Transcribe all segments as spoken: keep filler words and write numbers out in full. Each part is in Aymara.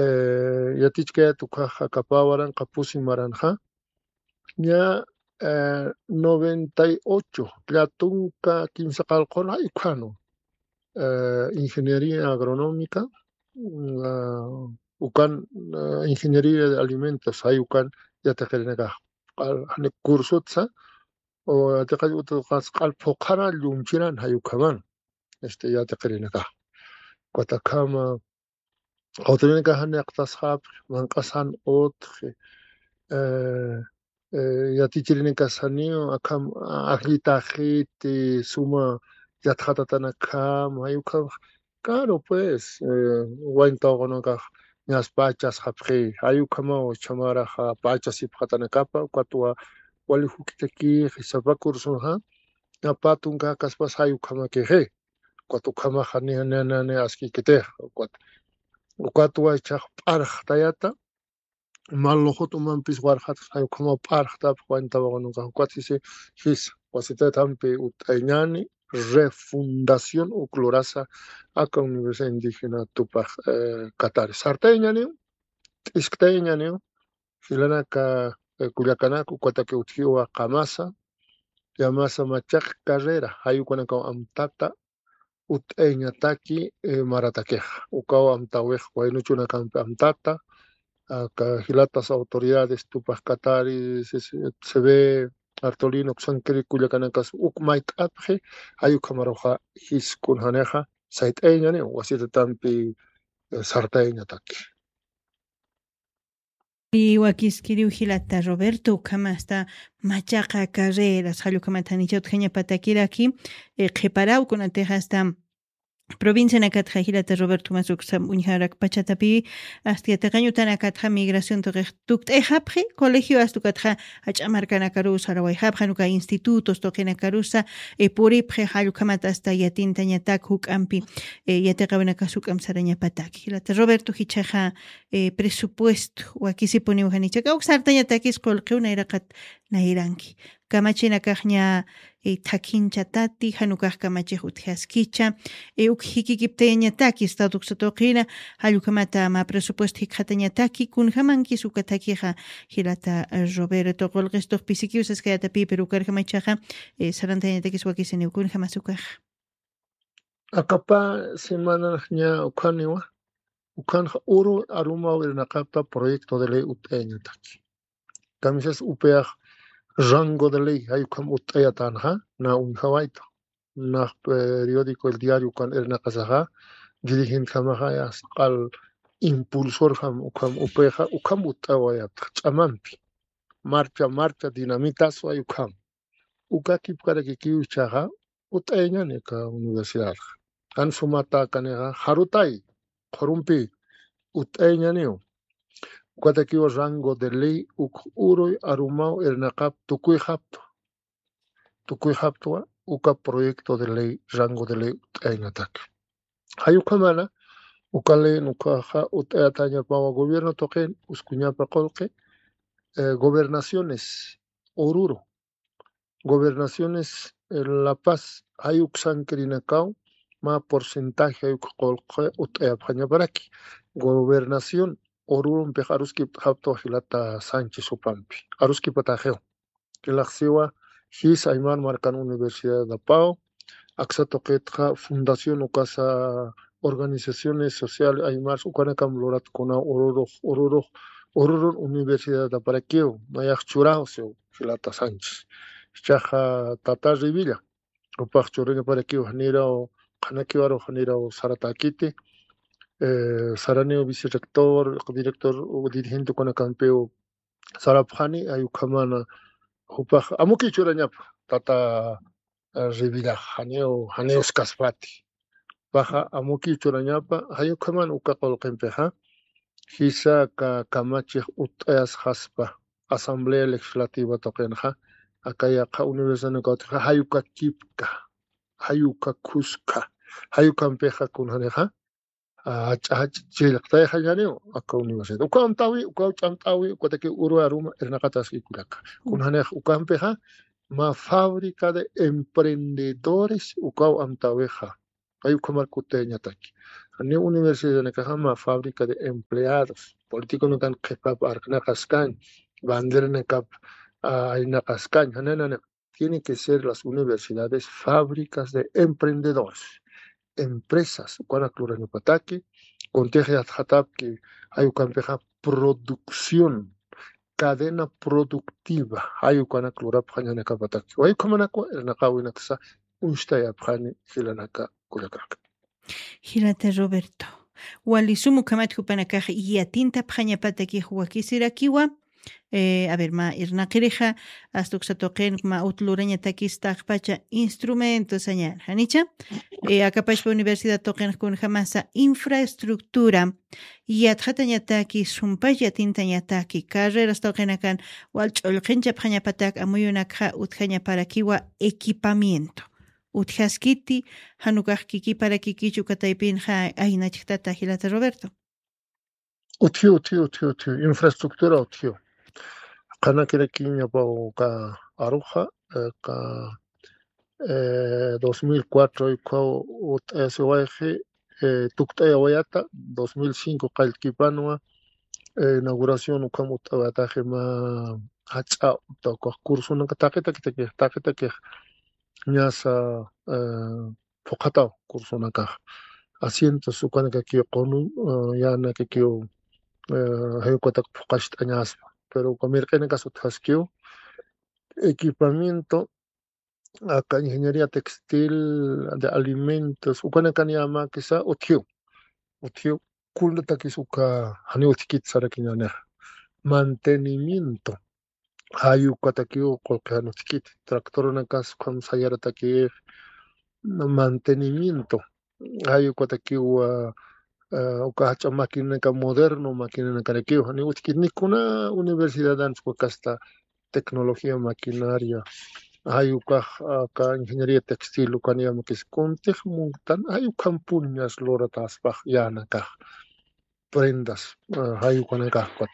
eh, yatichkayät ukkhax akapä waranqa pusi maranxa, ña, eh, noventa y ocho, llatunka kimsa qallqun, ay ukkhanu, eh, ingeniería agronómica, mm, ah, ukan, eh, ingeniería de alimentos, ay ukan yatiqirinakax, qal-, jani cursotsa, o yatiqañ utuqas q'al phuqhana llumchiran, ay ukhaman, este, yatiqirinakax. Ukat akhama, autoridadnakax janiqtasxapxi, manq'asan utji, eh, eh, yatichirinakasaniw, akham, ajllitaxiti, suma yatxatatanakam, ay ukham, claro, pues, eh, wayn tawaqunakax ñas pachasxapxi, ay ukhamaw chhamaraxa pachasipxatanakapa, ukatwa wali juk'itakixi, sapa cursoxa, ña pä tunka kaspas ay ukhamakixi. Ukat ukhamaxa ni, ni, ni, ni askikitix, ukat, ukatwa jichhax p'arxtayata, mä luxut umampis warxatxa, ukhamaw p'arxtapxi wayn tawaqunakax, ukat sisi jisa, wasitaytampi utt'ayañäni, refundación uk lurasa aka Universidad Indígena Tupac, eh, Katari. Sartayañäniw, t'isktayañäniw, jilanaka, eh, kullakanak, ukataki utjiwa qamasa, llamasa Machaca Carrera, jay ukanakaw amtata utt'ayañataki, eh, maratakixa. Ukaw amtäwix waynuchunakampi amtata, aka jilatas autoridades Tupac Katari, C C B, Artolino, uksankiri kullakanakas uk mayt'apxi, jay ukhamaruxa jis kunjanixa sayt'ayañäniw, wasitatampi, eh, sartayañataki. Y wakiskiriw jilata Roberto, ukhama hasta Machaca Carreras, jall ukhamat janicha utjañapatakiraki, eh, qhiparaw kunatix hasta provincianakatxa jilata Roberto, ukhama uksam uñjarakpachatapi, hasta yatiqañ utanakatxa migración tuqix tukt'ayxapxi, colegio hasta ukatxa jach'a markanakarusa sarawayxapxi, jan uka institutos tuqinakarusa, eh, puripxi, jall ukhamat hasta yatintañatak juk'ampi, eh, yatiqawinakas juk'amp sarañapatak. Jilata Roberto, jichhaxa, eh, presupuesto wakisipuniw janicha, kawk sartañatakis qullqiw nayraqat nayranki. Kamachinakax ña, eh, thakhinchatati, jan ukax kamachix utjaskicha, eh, uk jikikiptayañataki Estado uksa tuqina, jall ukhamata mä presupuesto jikxatañataki, kunjamankis uka thakixa, jilata, eh, Roberto, qullqistux pisikiw saskayätapï, pero ukarjamachaxa, eh, sarantayañatakis wakisiniw, kunjamas ukaxa. Aka pä semanax ña ukhaniwa, ukhanxa uru arumaw irnaqapta proyecto de ley utt'ayañataki. Kamisas upiyax rango de ley, jay ukham utt'ayatänxa, na uñjawaytu. Nax periódico El Diario ukan irnaqasaxa, dirigentjamaxa, ya, q'al impulsorjam ukham upixa, ukham utt'awayapta, ch'amampi. Marcha, marcha, dinamitas, jay ukham. Uka kipkarakikiw jichhaxa, utt'ayañäni aka universidadxa. Jan sumata akanixa, jarutay, qhurumpi, utt'ayañäniw. Ukatakiw rango de ley uk uruy arumaw irnaqap tukuyxaptwa. Tukuyxaptwa, uka proyecto de ley, rango de ley utt'ayañatak. Jay ukhamana, uka ley ukaxa utt'ayatañapawa gobierno tuqin, uskuñapa qullqi, eh, gobernaciones, Oruro, gobernaciones, eh, La Paz, jay uksankirinakaw, mä porcentaje jay uk qullqi utt'ayapxañaparaki. Gobernación Orurompix aruskipt'xaptwa jilata Sánchez jupampi. Aruskipataxiw. Jilaxsiwa, jis Aymar markan universidadapaw, aksa tuqitxa fundación ukasa organizaciones sociales aymars ukanakam luratkunaw Orurux, Orurux, Orurun universidadaparakiw, nayax churaw siw, jilata Sánchez. Jichhaxa tata Revilla, jupax churañaparakiw, janiraw, qhanakiwaru janiraw saratäkiti, eh, saraniw vicerrector, director, dirigente ukanakampiw, sarapxani, jay ukhamana, jupax amukiw churañapa, tata, eh, Revillax, janiw, janiw uskaspati. Jupaxa amukiw churañapa, jay ukhaman uka qullqimpixa, jisa aka kamachix utt'ayasxaspa, Asamblea Legislativa tuqinxa, aka yaqha universidad ukawtxa, jay uka kipka, jay uka khuska, jay ukampixa kunjanixa, ah, jach'a, jach'a chillqtayxañäniw aka universidad. Uka amtäwi, uka ch'amt'äwi, ukataki uru aruma irnaqataski kullaka. Kunjanix ukampixa, mä fábrica de emprendedores ukaw amtäwixa. Jay ukhamar kutiyañataki. Ni universidad nakaxa mä fábrica de empleados. Político nakan qhipap arknaqaskañ, bandera nakap, ah, aynaqaskañ, jananana. Tiene que ser las universidades fábricas de emprendedores, empresas, ukanak lurañapataki, kuntix yatxatapki, jay ukampixa producción, cadena productiva, jay ukanak lurapxañanakapataki. Jay ukhamanakwa, irnaqawinaksa, uñstayapxani jilanaka kullakanaka. Jilata Roberto. Wali sum ukhamat jupanakax yatintapxañapatakix wakisirakiwa. Eh, a ver, mä irnaqirixa, asta uksa tuqin mä ut lurañatakis taqpacha instrumento sañan. Janicha, eh, akapachpa universidad tuqin kunjamasa infraestructura, yatxatañataki, sumpach yatintañataki, carreras tuqinakan, wal ch'ullqinchapxañapatak amuyunakxa utjañaparakiwa equipamiento. Utjaskiti, jan ukax kikiparakikichu kataypinxa aynachktata jilata Roberto. Utjiw, utjiw, utjiw, utjiw. Infraestructura utjiw. Qhanakirakiñapa uka aruxa, eh, ka, eh, dos mil cuatro ukhaw ut'ayasiwayxi, eh, tukt'ayawayata, dos mil cinco qallkipanwa, eh, inauguración ukham ut'awayataxi mä jach'a uta ukax cursonak taqi taqi taqi taqi taqi ñasa, eh, phuqhataw cursonakax. Asientos ukanakakiw qunu, eh, yanakakiw, eh, jay ukatak phuqacht'añaspa. Pero uka mirq'inakas utjaskiw, equipamiento, aka ingeniería textil, de alimentos, ukanakan yamakisa utjiw. Utjiw, kunatakis uka janiw utjkit sarakiñänixa. Mantenimiento. Jay ukatakiw qullqi jan utjkit. Tractornakas ukham sayaratakix mantenimiento. Jay ukatakiw, ah, ah, uka jach'a maquinanaka moderno, maquinanakarakiw. Janiw utjkit ni kuna universidadan uka kasta tecnología maquinaria. Jay ukax, ah, aka ingeniería textil ukan yamakis kuntix muntan, jay ukhampuniñas lurataspax yanakax. Prendas, ah, jay ukanakax ukat.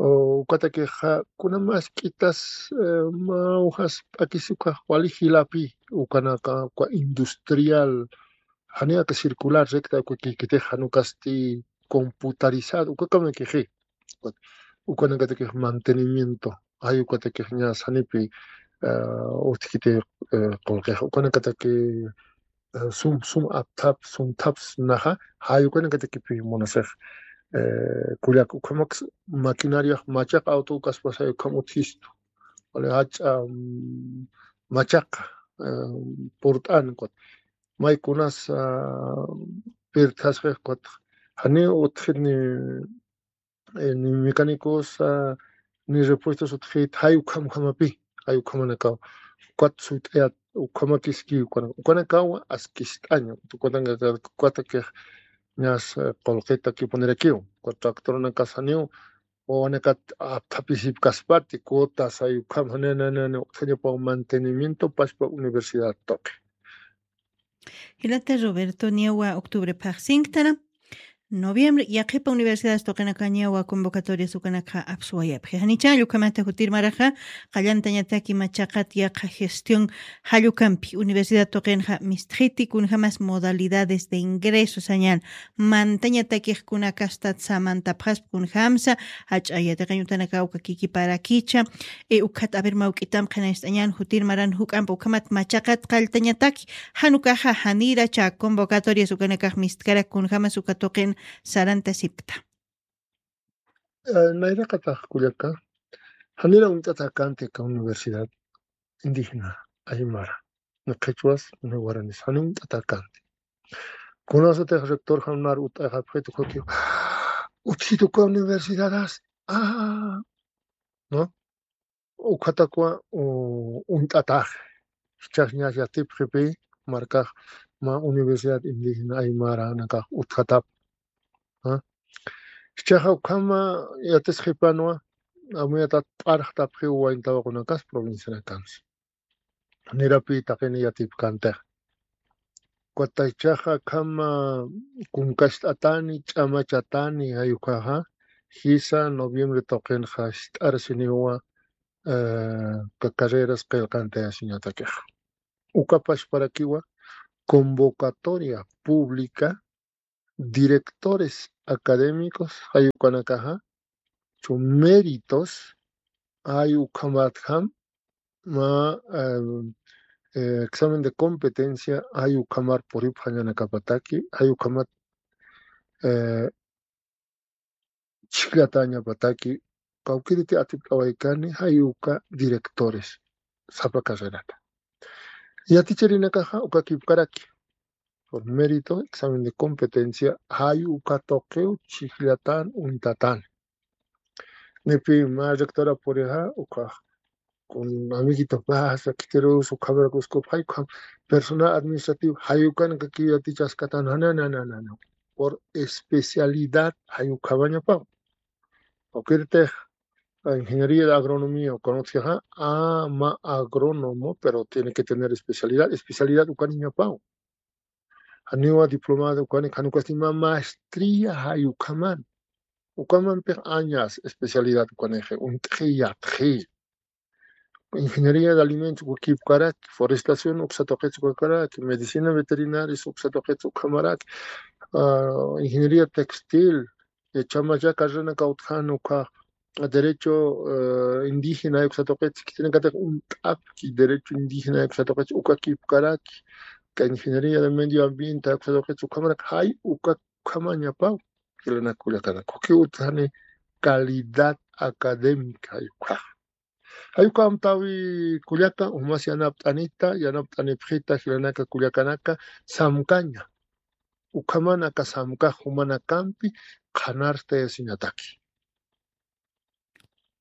O, ukatakixa, kuna mä ask'itas, eh, mä ujas p'akis ukax wali jilapi, ukanaka, uka industrial, janiw aka circular recta, uka kikitix jan ukasti computarizado, ukakamikixi. Ukat, ukanakatakix mantenimiento, jay ukatakix ñas janipi, eh, utjkiti, eh, qullqix, ukanakataki eh, sum, sum apthap, sum thaps naxa, jay ukanakatakipi munasix, eh, kullak ukhamak maquinaria machaq auto ukaspasay ukham utjistu. Wali jach'a, mm, machaq, eh, purt'an ukat. Maykunas, ah, pirthasxix ukat. Janiw utjit ni eh, ni mecánicos, ah, ni repuestos utjit, jay ukham ukhamapi, jay ukhamanakaw. Ukat suyt'ayat, ukhamakiski, ukana-, ukanakaw askist'aña, ukanaka-, ukatakix ñas, eh, qullqitakipunirakiw, ukat tractornakas janiw, wawanakat apthapisipkaspati, cuotas, jay ukham, jani, jani, jani, utjañapaw mantenimiento, pachpa universidad tuqi. Jilata Roberto, niyawa octubre phaxsinktana, noviembre, yaqhipa universidades tuqinaka niyawa convocatorias ukanakxa apsuwayapxi. Janicha jall ukhamata jutir maraxa, qallantañataki machaqat yaqha gestión jall ukampi, universidad tuqinxa mistxiti kunjamas modalidades de ingreso sañan, mantañatakix kuna kastat samantapxaspa kunjamsa, jach'a yatiqañ utanakaw uka kikiparakicha, e, ukhat, a ver, mä juk'itam qhinañcht'añän jutir maran juk'amp ukhamat machaqat qalltañataki, jan ukaxa janiracha convocatorias ukanakax mistkarak kunjamas uka tuqin sarantasipkta. Eh, nayraqatax kullaka, janira uñt'atäkänti aka universidad indígena aymara, ni qhichwas, ni guaranis, janiw uñt'atäkänti. Kunasatix rector jan nar ut'ayxapxit ukakiw, utjit uka universidadas, ah, ¿no? Ukhatakwa, u-, uñt'atax. Jichhax ñas yatipxipi, markax mä universidad indígena aymaranakax utjatap. ¿Ah? Jichhaxa ukhama yatisxipanwa, amuyatat p'arxtapxiw wayn tawaqunakas provincianakansa. Nirapi taqini yatipkantix. Ukat jichhaxa akhama kunkacht'atani, ch'amachatani, jay ukaxa, jisa noviembre tuqinxa jist'arsiniwa, eh, ka carreras qillqantayasiñatakixa. Uka pachparakiwa convocatoria pública directores académicos, jay ukanakaxa, chu méritos, jay ukhamatjam, mä, eh, eh, examen de competencia, jay ukhamar puripxañanakapataki, jay ukhamat, eh, chhijllatañapataki, kawkïriti atipt'awaykani, jay uka directores, sapa carrerata. Yaticharinakaxa, ukakipkaraki. Por mérito, examen de competencia, jay uka tuqiw chhijllatan uñtatan. Nipi mä rectora purixa, uka, kun amiguito pasa, khitirus, ukhamarakuskup, jay ukham, personal administrativo, jay ukanakakiw yatichaskatan, na, na, na, na, na. Por especialidad, jay ukhamañapaw. Ukirtix, ingeniería de agronomía, ukan utjixa, ah, mä agrónomo, pero tiene que tener especialidad, especialidad ukaniñapaw. Janiwa diplomado ukani, jan ukasti mä maestría jay ukhaman. Ukhamampix añas especialidad ukanixi, uñt'xi, yatxi. Ingeniería de alimentos ukakipkaraki, forestación uksa tuqits ukakipkaraki, medicina veterinaria uksa tuqits ukhamaraki, ah, ingeniería textil, eh, chamacha carreranakaw utjani ukha, derecho, eh, indígena uksa tuqits, khitinakatix uñt'apki derecho indígena uksa tuqits ukakipkaraki, ka ingeniería de medio ambiente uksa tuqits ukhamaraki, jay uka ukhamañapaw, jilanaka kullakanaka. Uki utjani calidad académica jay ukhax. Jay uka amtäwi kullaka, jumas yanapt'anita, yanapt'anipxita, jilanaka kullakanaka, samkaña. Ukhaman aka samkax jumanakampi qhanartayasiñataki.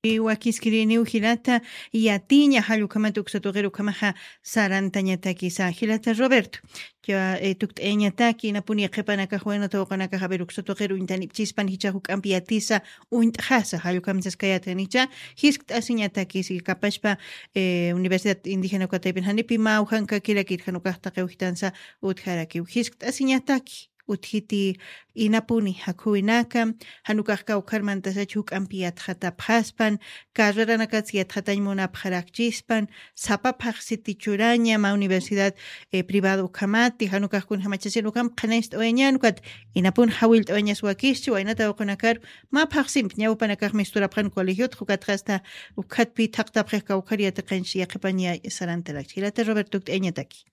Wakiskiriniw jilata, yatiña jall ukhamata uksa tuqir ukhamaxa sarantañatakisa. Jilata Roberto, ya, eh, tukt'ayañataki, inapuni qhipanakax waynata waqanakax, a ver, uksa tuqir uñtanipchispan jichhax juk'ampi yatisa, uñt'xasa, jall ukham saskayätanicha, jiskt'asiñatakisi, kapachpa, eh, Universidad Indígena Ukataypin janipi mä ujankakirakir, jan ukax taqiw jitansa utjarakiw. Jiskt'asiñataki, utjiti inapuni jakhuwinaka, jan ukax kawkhar mantasach juk'ampi yatxatapxaspan, carreranakats yatxatañ munapxarakchispan, sapa phaxsiti churaña, mä universidad, eh, privado ukhamati, jan ukax kunjamachasin ukham qhanañcht'awayañän ukat, inapun jawillt'awayañas wakischi, waynata waqanakar, mä phaxsimp, ñawpanakax misturapxan colegiot, ukatxa hasta ukhatpi thaqtapxix kawkhar yatiqañch yaqhipañ sarantarakchi. Jilata Roberto, tukt'ayañataki.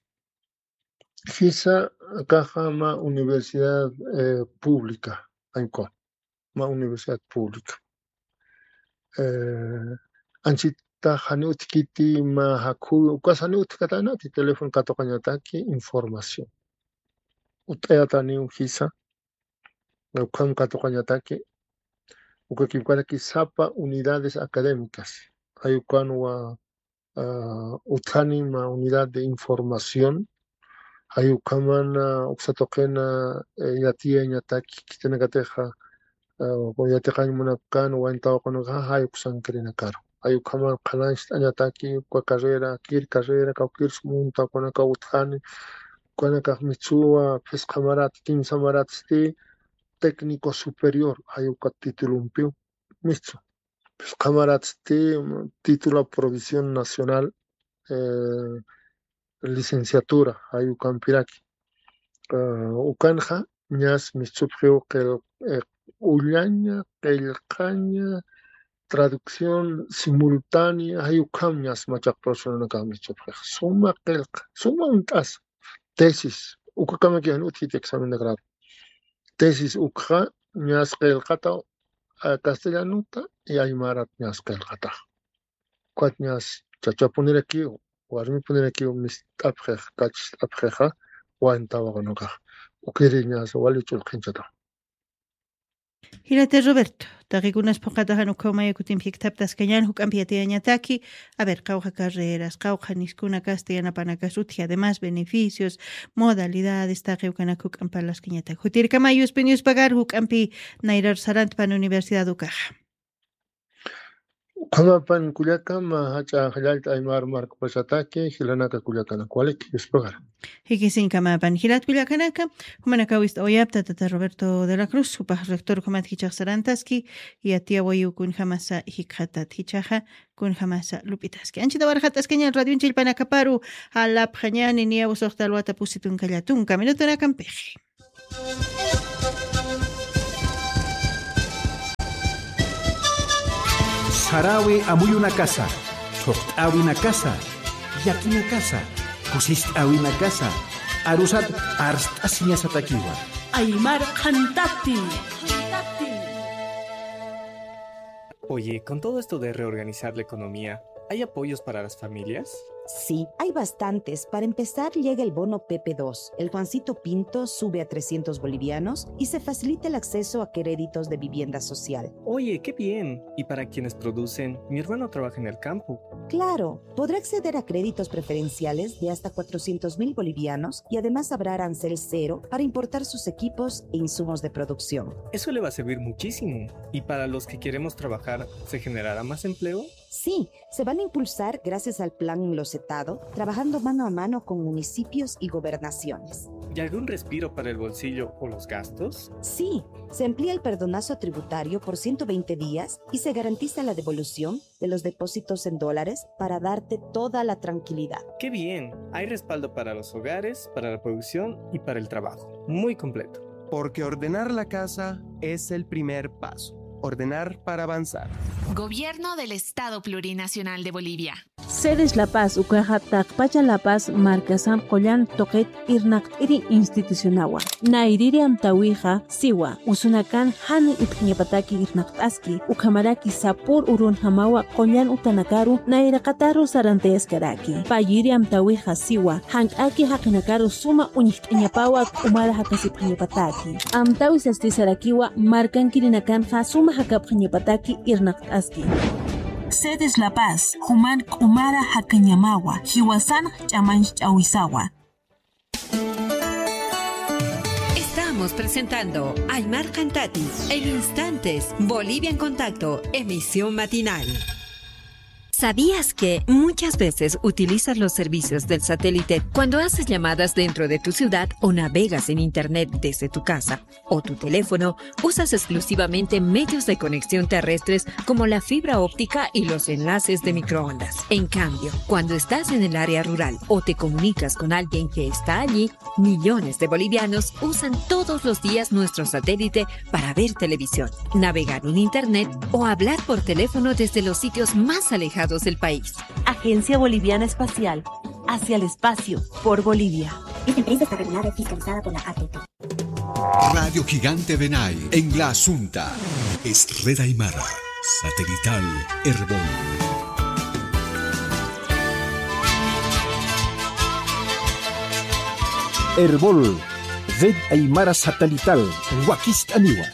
Jisa, akaxa mä universidad, eh, pública, ankwa, mä universidad pública. Eh, anchita jani utjkiti mä jakhu, ukas jani utjkatanati, teléfono katuqañataki, información. Utt'ayataniw jisa, ukham katuqañataki, ukakipkaraki sapa unidades académicas, jay ukanwa, ah, utjani mä unidad de información, jay ukhaman, ah, uksa tuqin, eh, yatiyañataki, khitinakatixa, ah, yatiqañ munapkän, waynata waqanakaxa, jay uksankirinakaru. Jay ukhaman qhanañcht'añataki, uka carrera, kir carrera, kawkir sum waynata waqanakaw utjani, ukanakax mistuwa, phisqa marat, kimsa maratsti, técnico superior, jay uka titulumpiw, mistu. Phisqa maratsti, título provisión nacional, eh, licenciatura, jay ukampiraki. Ah, ukanxa, ñas mistupxiw qil-, eh, ullaña, qillqaña, traducción simultánea, jay ukham ñas machaq profesionanakax mistupxix. Suma qillqa, suma uñt'asa. Tesis, ukakamaki jan utjiti examen de grado. Tesis ukxa, ñas qillqata, ah, castellanota y aymarat ñas qillqatax. Ukat ñas chachapunirakiw, warmipunirakiw mist'apxix, kachist'apxixa, waynata waqanakax. Ukiri ñas wali ch'ulqhinchata. Jilata Roberto, taqikunas phuqhata jan ukhaw maya kutimpi jikthaptaskañän juk'ampi yatiyañataki, a ver, qawqha carreras, qawqha niskunakasti yanapanakas utji, además beneficios, modalidades, taqi ukanak juk'amp parlaskañataki. Jutirkamay Yuspin Yuspagar juk'ampi nayrar sarantpan universidad ukaxa. Ukhamapan kullaka, mä jach'a jallallta aymar markpachataki, jilanaka kullakanaka, walik, Yuspagar. Jikisiñkamapan, jilat kullakanaka, jumanakaw ist'awayapta tata Roberto de la Cruz, jupax rector ukhamat jichhax sarantaski, yatiyawayiw kunjamasa jikxatat, jichhaxa kunjamasa lup'itaski. Anchita warxat'askañan radioñ chillpanakaparu, jalapxañani niyaw suxta alwata pusi tunka llatunka minutunakampixi. Saräwi amuyunakasa, thuqt'äwinakasa, llakinakasa, kusist'äwinakasa, arusat arst'asiñasatakiwa. Aymar Qhantati. Oye, con todo esto de reorganizar la economía, ¿hay apoyos para las familias? Sí, hay bastantes. Para empezar, llega el bono P P dos. El Juancito Pinto sube a trescientos bolivianos y se facilita el acceso a créditos de vivienda social. Oye, qué bien. ¿Y para quienes producen? Mi hermano trabaja en el campo. Claro, podrá acceder a créditos preferenciales de hasta cuatrocientos mil bolivianos y además habrá arancel cero para importar sus equipos e insumos de producción. Eso le va a servir muchísimo. ¿Y para los que queremos trabajar, se generará más empleo? Sí, se van a impulsar gracias al plan Locetado, trabajando mano a mano con municipios y gobernaciones. ¿Y algún respiro para el bolsillo o los gastos? Sí, se amplía el perdonazo tributario por ciento veinte días y se garantiza la devolución de los depósitos en dólares para darte toda la tranquilidad. Qué bien, hay respaldo para los hogares, para la producción y para el trabajo. Muy completo. Porque ordenar la casa es el primer paso. Ordenar para avanzar. Gobierno del Estado Plurinacional de Bolivia. Sedes La Paz ukaxa taqpacha La Paz markasamp qullan tuqit irnaqt'iri institucionawa. Nayrïri amtäwixa siwa, usunakan jan ipxiñapataki irnaqt'aski, ukhamaraki sapür urunjamawa qullan utanakaru nayraqataru sarantayaskaraki. Payïri amtäwixa siwa, jank'aki jaqinakaru suma uñjt'añapawa k'umara jakasipxañapataki. Amtäwi sasti sarakiwa, markankirinakanxa suma jakapxañapataki irnaqt'aski. Sedes La Paz, juman k'umara jakañamawa, jiwasan ch'amanch'awisawa. Estamos presentando Aymar Qhantati en instantes, Bolivia en Contacto, emisión matinal. ¿Sabías que muchas veces utilizas los servicios del satélite cuando haces llamadas dentro de tu ciudad o navegas en internet desde tu casa o tu teléfono? Usas exclusivamente medios de conexión terrestres como la fibra óptica y los enlaces de microondas. En cambio, cuando estás en el área rural o te comunicas con alguien que está allí, millones de bolivianos usan todos los días nuestro satélite para ver televisión, navegar en internet o hablar por teléfono desde los sitios más alejados del país. Agencia Boliviana Espacial, hacia el espacio, por Bolivia. Esta empresa está regulada y fiscalizada por la A T T. Radio Gigante Benay, en La Asunta. Es Red Aymara, satelital Erbol. Erbol, Red Aymara Satelital, wakist'aniwa.